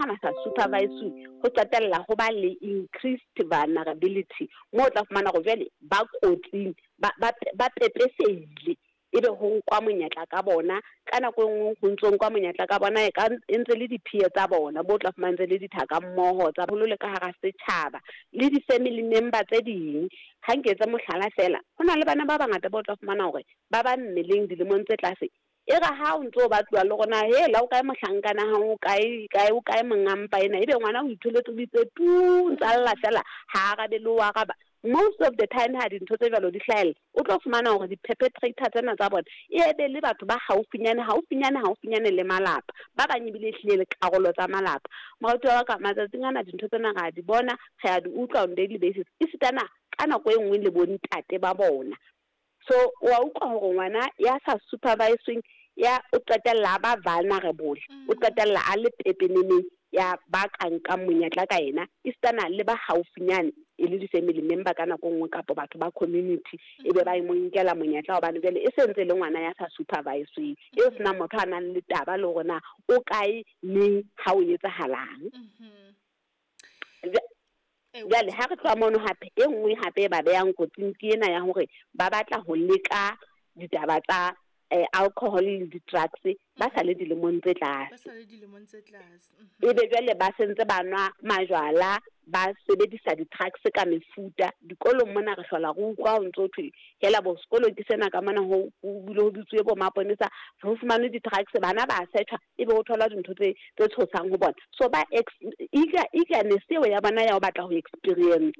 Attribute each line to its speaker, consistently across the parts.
Speaker 1: ba sa supervise, ho qetella ho ba le increased vulnerability, moo o tla fumana hore jwale ba kotsing, ba pepesehile, ebe ho nkwa monyetla ka bona. Ka nako e nngwe ho ntso nkwa monyetla ka bona e ka e ntse le di-peer tsa bona, bo tla fumana ntse le dithaka mmoho tsa holo le ka hara setjhaba le di-family member tse ding. Ha nke etse mohlala fela, ho na le bana ba bangata ba o tla fumana hore ba ba mmeleng dilemong tse tlase, e re ha o ntso ba tloha le rona, he la o kae mohlankana ha o kae kae, o kae monga mpa ena, ebe ngwana o itholetse, o itse tu, ntsa lla fela, ha arabe le ho araba. Most of the time ha dintho tse jwalo di hlahella, o tlo fumana hore di-perpetrator tsena tsa bona e be le batho ba haufinyane haufinyane haufinyane le malapa, ba bang ebile ehlile le karolo tsa malapa. Moratuwa wa ka, matsatsing ana dintho tsena re a di bona, re a di utlwa on daily basis, esitana ka nako e nngwe le bontate ba bona. So wa utlwa hore ngwana ya sa supervisweng ya o qetella a ba vulnerable, o qetella a le pepeneneng ya ba ka nkang monyetla ka yena, esitana le ba haufinyane e le di-family member ka nako e nngwe, kapa batho ba community, e be ba mo nkela monyetla, hobane jwale e se ntse le ngwana ya sa supervisweng, eo senang motho a nang le taba le hore na o kae, neng, ha o etsahalang. Jwale ha re tloha mono, hape e nngwe hape e ba behang kotsing ke ena ya hore ba batla ho leka ditaba tsa alcohol le di-drugs ba sa le dilemong tse
Speaker 2: tlase. Ba sa le dilemong tse tlase.
Speaker 1: Ebe jwale ba sentse ba nwa majwala, ba sebedisa di-drugs ka mefuta. Dikolong mona re hlola re utlwa ho ntso thwe hela bo sekolo ke sena ka mona, ho bile ho bitsuwe bo maponesa, ho fumanwe di-drugs, bana ba searchwa, ebe ho thola dintho tse tshosang ho bona. So ba eagerness eo ya bona ya ho batla ho experience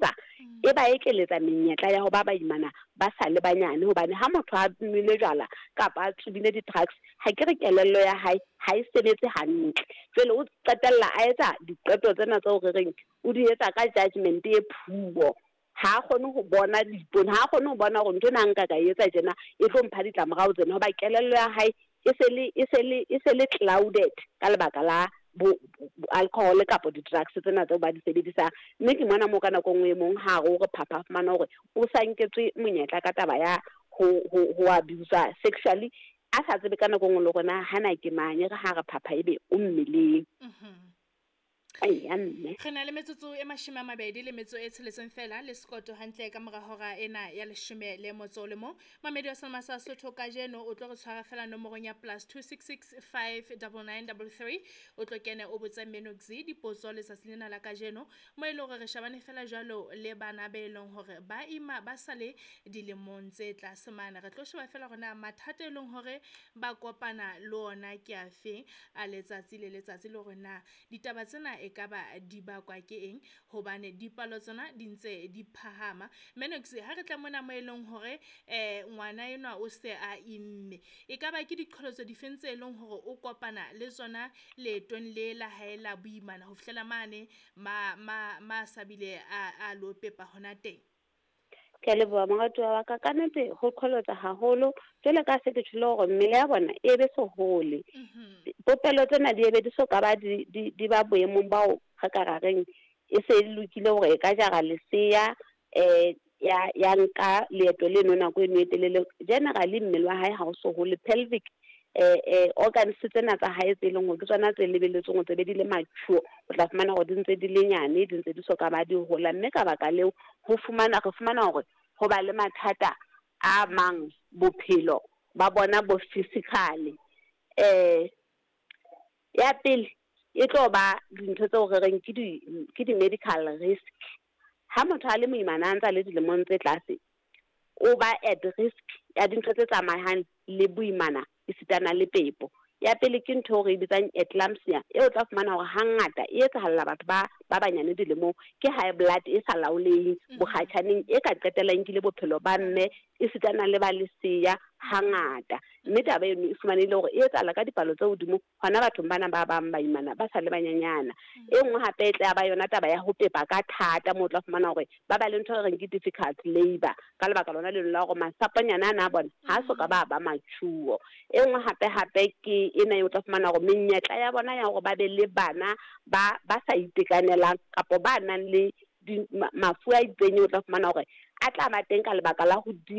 Speaker 1: e ba ekeletsa menyetla ya ho ba baimana ba sa le banyane, hobane ha motho a nwele jwala kapa a tsubile di-drugs, ha ke re kelello ya hae ha e sebetse hantle, jwale o qetella a etsa diqeto tsena tseo re reng o di etsa ka judgment e poor. Ha a kgone ho bona diipone, ha a kgone ho bona hore ntho ena nka ka e etsa tjena e tlo mpha ditlamorao tsena, hoba kelello ya hae e se le clouded ka lebaka la bo alcohol kapa di-drugs tsena tseo ba di sebedisang. Mme ke mona moo ka nako e nngwe e mong ha re o re phapha, fumana hore o sa nketswe monyetla ka taba ya ho abuse sexually, a sa tsebe ka nako e nngwe le hore na hana ke mang, e re ha re phapha ebe o mmeleng. Eya mme.
Speaker 2: Re na le metsotso e 26 fela le sekoto hantle ka mora hora ena ya 11. Mamedi wa Selma sa Sotho, kajeno o tlo re tshwara fela nomorong ya +266 59933, o tlo kene o botse Menox dipotso letsatsi lena la kajeno, mo e leng hore re shabane fela jwalo le bana be leng hore ba ima ba sa le dilemong tse tlase mane. Re tlo sheba fela hore na mathata e leng hore ba kopana le ona ke afeng a letsatsi le letsatsi, le hore na ditaba tsena e ka ba di bakwa ke eng, hobane dipalo tsona di ntse di phahama. Menox, ha re tla mona mo e leng hore ngwana enwa o se a imme, e ka ba ke diqholotso difeng tse leng hore o kopana le tsona leetong le la hae la boimana ho fihlela mane ma sabile a lo pepa hona teng?
Speaker 1: Ke a leboha, moratuwa wa ka. Ka nnete ho qholotsa haholo, jwale ka se ke tjholo hore mmele ya bona e be sohole, popelo tsena di ebe di so ka ba di ba boemong bao re ka ra reng e se e lokile hore e ka jara lesea, ya nka leeto leno nako eno e telele. Generally mmele wa hae ha o so hole, pelvic organs tsena tsa hae tse leng hore ke tsona tse lebelletsweng hore tse be di le mature, o tla fumana hore di ntse di le nyane, di ntse di so ka ba di hola. Mme ka baka leo ho fumana re fumana hore ho ba le mathata a mang bophelo ba bona bo physically. Ya pele e tlo ba dintho tseo re reng ke di medical risk. Ha motho a le moimana a ntse a le dilemong tse tlase, o ba at risk ya dintho tse tsamayang le boimana esitana le pepo. Ya pele ke ntho eo re e bitsang eclampsia, eo o tla fumana hore hangata e etsahalla batho ba banyane dilemong, ke high blood e sa laoleheng bokgatjhaneng, e ka qetella e nkile bophelo ba mme esitana le ba leseya hangata. Mme taba eno e fumanehile hore e etsahala ka dipalo tse hodimo hona bathong bana ba bang baimana ba sa le banyenyana. E nngwe hape e tla ba yona taba ya ho pepa ka thata, moo o tla fumana hore ba ba le ntho e reng ke difficult labour, ka lebaka lona leno la hore masaponyana ana a bona ha so ka ba mature. E nngwe hape hape ke ena e o tla fumana hore menyetla ya bona ya hore ba be le bana ba sa itekanelang kapa ba nang le mafu a itseng, o tla fumana hore a tla ba teng ka lebaka la ho die.